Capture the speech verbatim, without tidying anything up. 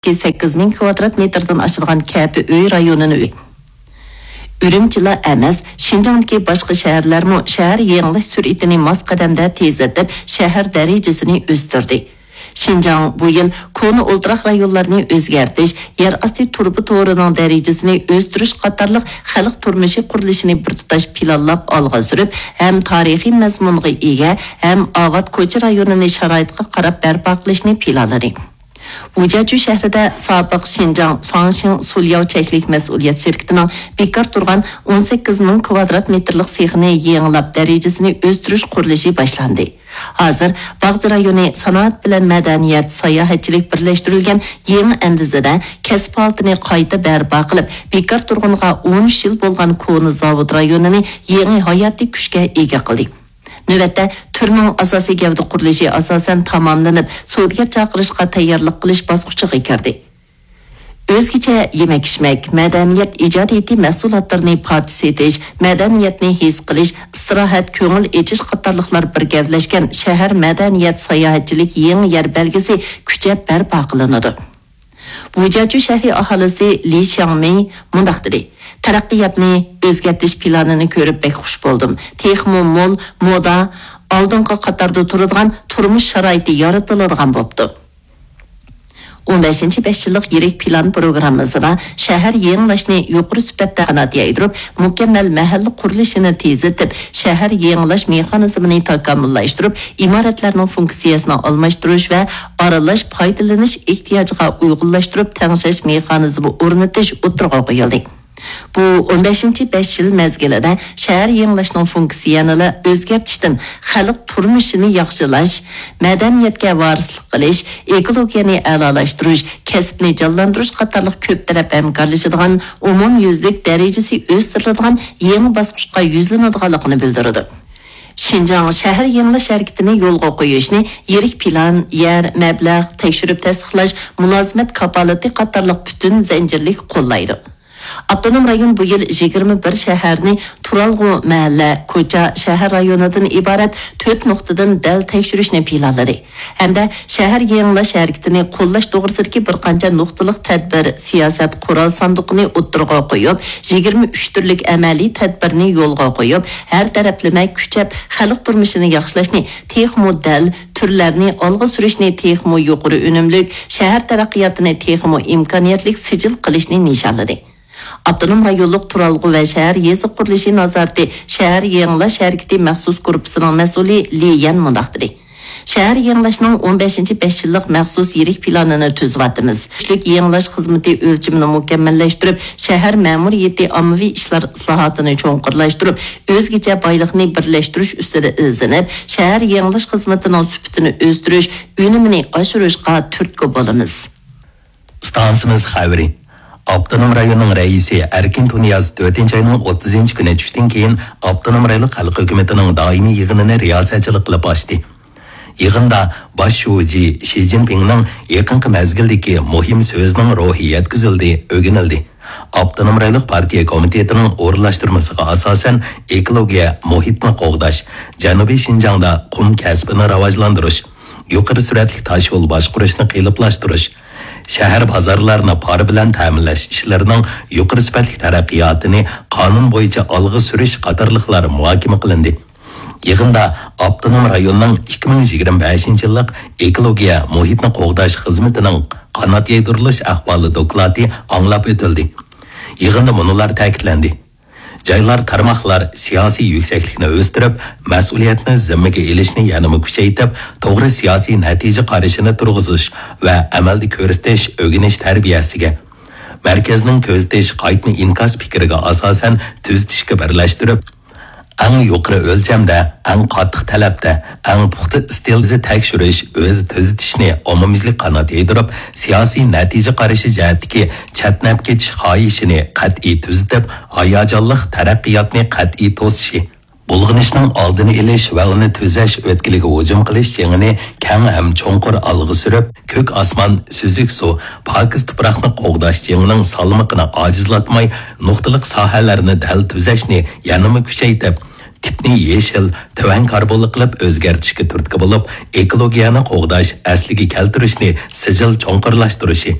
سەككىز مىڭ كۋادرات مېتىردىن ئاشىدىغان كەپە ئۆي رايونىنى ئۆ-، ئۈرۈمچىلا ئەمەس، شىنجاڭدىكى باشقا شەھەرلەرمۇ شەھەر يېڭىلاش سۈرئىتىنى ماس قەدەمدە تېزلىتىپ، شەھەر دەرىجىسىنى ئۆستۈردى. شىنجاڭ بۇ يىل كونا ئولتۇراق رايونلارنى ئۆزگەرتىش، يەر ئاستى تۇرۇبا تورىنىڭ دەرىجىسىنى ئۆستۈرۈش قاتارلىق خەلق تۇرمۇشى قۇرۇلۇشىنى بىر تۇتاش پىلانلاپ ئالغا سۈرۈپ، ھەم تارىخىي مەزمۇنغا ئىگە، ھەم ئاۋات كوچا رايونىنى شارائىتقا قاراپ بەرپا قىلىشنى پىلانلىدى. ۋۇجياچۈ شەھىرىدە سابىق شىنجاڭ فاڭشىڭ سۇلياۋ چەكلىك مەسئۇلىيەت شىركىتىنىڭ بىكار تۇرغان ئون سەككىز مىڭ كۋادرات مېتىرلىق سېخىنى يېڭىلاپ، دەرىجىسىنى ئۆستۈرۈش قۇرۇلۇشى باشلاندى. ھازىر باغچە رايونى سانائەت بىلەن مەدەنىيەت، ساياھەتچىلىك بىرلەشتۈرۈلگەن يېڭى ئەندىزىدە كەسىپ ھالىتىنى قايتا بەرپا قىلىپ، بىكار تۇرغىنىغا ئون ئۈچ يىل بولغان كونا زاۋۇت رايونىنى يېڭى ھاياتىي كۈچكە ئىگە قىلدى. نۆۋەتتە، تۈرنىڭ ئاساسىي گەۋدە قۇرۇلۇشى ئاساسەن تاماملىنىپ، سودىگەر چاقىرىشقا تەييارلىق قىلىش باسقۇچىغا كىردى. ئۆزگىچە يېمەك-ئىچمەك، مەدەنىيەت ئىجادىيىتى مەھسۇلاتلىرىنى پارچە سېتىش، مەدەنىيەتنى ھېس قىلىش، ئىستىراھەت، كۆڭۈل ئېچىش قاتارلىقلار بىر گەۋدىلەشكەن شەھەر مەدەنىيەت ساياھەتچىلىك يېڭى يەر بەلگىسى كۈچەپ بەرپا قىلىنىدۇ. ۋۇجياچۈ شەھىرى ئاھالىسى لى شياڭمېي مۇنداق دېدى: «تەرەققىياتنى ئۆزگەرتىش پىلانىنى كۆرۈپ بەك خۇش بولدۇم. تېخىمۇ مول مودا، ئالدىنقى قاتاردا تۇرىدىغان تۇرمۇش شارائىتى يارىتىلىدىغان بوپتۇ.» ئون بەشىنچى بەش يىللىق يىرىك پىلان پروگراممىسىدا شەھەر يېڭىلاشنى يۇقىرى سۈپەتتە قانات يايدۇرۇپ، مۇكەممەل مەھەللە قۇرۇلۇشىنى تېزلىتىپ، شەھەر يېڭىلاش مېخانىزمىنى تاكامۇللاشتۇرۇپ، ئىمارەتلەرنىڭ فۇنكسىيەسىنى ئالماشتۇرۇش ۋە ئارىلاش پايدىلىنىش ئېھتىياجىغا ئۇيغۇنلاشتۇرۇپ تەڭشەش مېخانىزمى ئورنىتىش ئوتتۇرىغا قويۇلدى. بۇ ئون بەشىنچى بەش يىل مەزگىلىدە شەھەر يېڭىلاشنىڭ فۇنكسىيەسىنى ئۆزگەرتىشتىن خەلق تۇرمۇشىنى ياخشىلاش، مەدەنىيەتكە ۋارىسلىق قىلىش، ئېكولوگىيەنى ئەلالاشتۇرۇش، كەسىپنى جانلاندۇرۇش قاتارلىق كۆپ تەرەپ ھەمكارلىشىدىغان، ئومۇميۈزلۈك دەرىجىسى ئۆستۈرۈلىدىغان يېڭى باسقۇچقا يۈزلىنىدىغانلىقىنى بىلدۈرىدۇ. شىنجاڭ شەھەر يېڭىلاش ھەرىكىتىنى يولغا قويۇشنى يىرىك پىلان، يەر، مەبلەغ، تەكشۈرۈپ تەستىقلاش، مۇلازىمەت كاپالىتى قاتارلىق پۈتۈن زەنجىرلىك قوللايدۇ. ئاپتونوم رايون بۇ يىل يىگىرمە بىر شەھەرنى تۇرالغۇ مەھەللە، كوچا، شەھەر رايونىدىن ئىبارەت تۆت نۇقتىدىن دەل تەكشۈرۈشنى پىلانلىدى ھەمدە شەھەر يېڭىلاش ھەرىكىتىنى قوللاش توغرىسىدىكى بىر قانچە نۇقتىلىق تەدبىر، سىياسەت، قورال ساندۇقىنى ئوتتۇرىغا قويۇپ، يىگىرمە ئۈچ تۈرلۈك ئەمەلىي تەدبىرنى يولغا قويۇپ، ھەر تەرەپلىمە كۈچەپ خەلق تۇرمۇشىنى ياخشىلاشنى تېخىمۇ دەل، تۈرلەرنى ئالغا سۈرۈشنى تېخىمۇ يۇقىرى ئۈنۈملۈك، شەھەر تەرەققىياتىنى تېخىمۇ ئىمكانىيەتلىك سىجىل قىلىشنى نىشانلىدى. ئاپتونوم رايونلۇق تۇرالغۇ ۋە شەھەر يېزا قۇرۇلۇشى نازارىتى شەھەر يېڭىلاش ھەرىكىتى مەخسۇس گۇرۇپپىسىنىڭ مەسئۇلى لى يەن مۇنداق دېدى: شەھەر يېڭىلاشنىڭ ئون بەشىنچى بەش يىللىق مەخسۇس يىرىك پىلانىنى تۈزۈۋاتىمىز. كۈچلۈك يېڭىلاش خىزمىتى ئۆلچىمىنى مۇكەممەللەشتۈرۈپ، شەھەر مەمۇرىيىتى ئاممىۋى ئىشلار ئىسلاھاتىنى چوڭقۇرلاشتۇرۇپ، ئۆزگىچە بايلىقنى بىرلەشتۈرۈش ئۈستىدە ئىزدىنىپ، شەھەر يېڭىلاش خىزمىتىنىڭ سۈپىتىنى ئۆستۈرۈش، ئۈنۈمىنى ئاشۇرۇشقا تۈرتكە بولىمىز. ئىستانسىمىز خەۋىرى. ئاپتونوم رايوننىڭ رەئىسى ئەركىن تۇنىياز تۆتىنچى ئاينىڭ ئوتتۇزىنچى كۈنى چۈشتىن كېيىن ئاپتونوم رايونلۇق خەلق ھۆكۈمىتىنىڭ دائىمىي يىغىنىنى رىياسەتچىلىك قىلىپ ئاچتى. يىغىندا باش شۇجى شى جىنپىڭنىڭ يېقىنقى مەزگىلدىكى مۇھىم سۆزىنىڭ روھى يەتكۈزۈلدى، ئۆگىنىلدى. ئاپتونوم رايونلۇق پارتىيە كومىتېتىنىڭ ئورۇنلاشتۇرمىسىغا ئاساسەن، ئېكولوگىيە، مۇھىتنى قوغداش، جەنۇبىي شىنجاڭدا قۇم كەسپىنى راۋاجلاندۇرۇش، يۇقىرى سۈرئەتلىك تاشيول باشقۇرۇشنى قېلىپلاشتۇرۇش، شەھەر بازارلارنى پارا بىلەن تەمىنلەش ئىشلىرىنىڭ يۇقىرى سۈپەتلىك تەرەققىياتىنى قانۇن بويىچە ئالغا سۈرۈش قاتارلىقلار مۇھاكىمە قىلىندى. يىغىندا ئاپتونوم رايوننىڭ ئىككى مىڭ يىگىرمە بەشىنچى يىللىق ئېكولوگىيە مۇھىتنى قوغداش خىزمىتىنىڭ قانات يايدۇرۇلۇش ئەھۋالى دوكلاتى ئاڭلاپ ئۆتۈلدى. يىغىندا مۇنۇلار تەكىتلەندى: جايلار، تارماقلار سىياسىي يۈكسەكلىكنى ئۆستۈرۈپ، مەسئۇلىيەتنى زىممىگە ئېلىشنى يەنىمۇ كۈچەيتىپ، توغرا سىياسىي نەتىجە قارىشىنى تۇرغۇزۇش ۋە ئەمەلدە كۆرسىتىش، ئۆگىنىش تەربىيەسىگە، مەركەزنىڭ كۆزىتىش، قايتما ئىنكاس پىكرىگە ئاساسەن تۈزىتىشكە بىرلەشتۈرۈپ، ئەڭ يۇقىرى ئۆلچەمدە، ئەڭ قاتتىق تەلەپتە، ئەڭ پۇختا ئىستىلدا تەكشۈرۈش، ئۆزى تۈزىتىشنى ئومۇميۈزلۈك قانات يايدۇرۇپ، سىياسىي نەتىجە قارىشى جەھەتتىكى چەتنەپ كېتىش خاھىشىنى قەتئىي تۈزىتىپ، ھاياجانلىق تەرەققىياتنى قەتئىي توسۇشى، بۇلغىنىشنىڭ ئالدىنى ئېلىش ۋە ئۇنى تۈزەش ئۆتكىلىگە ھۇجۇم قىلىش جېڭىنى كەڭ ھەم چوڭقۇر ئالغا سۈرۈپ، كۆك ئاسمان، سۈزۈك سۇ، پاكىز تۇپراقنى قوغداش جېڭىنىڭ سالمىقىنى ئاجىزلاتماي، نۇقتىلىق ساھەلەرنى دەل تۈزەشنى يەنىمۇ كۈچەيتىپ، تىپنى يېشىل، تۆۋەن كاربونلۇق قىلىپ ئۆزگەرتىشكە تۈرتكە بولۇپ، ئېكولوگىيەنى قوغداش، ئەسلىگە كەلتۈرۈشنى سىجىل چوڭقۇرلاشتۇرۇشى،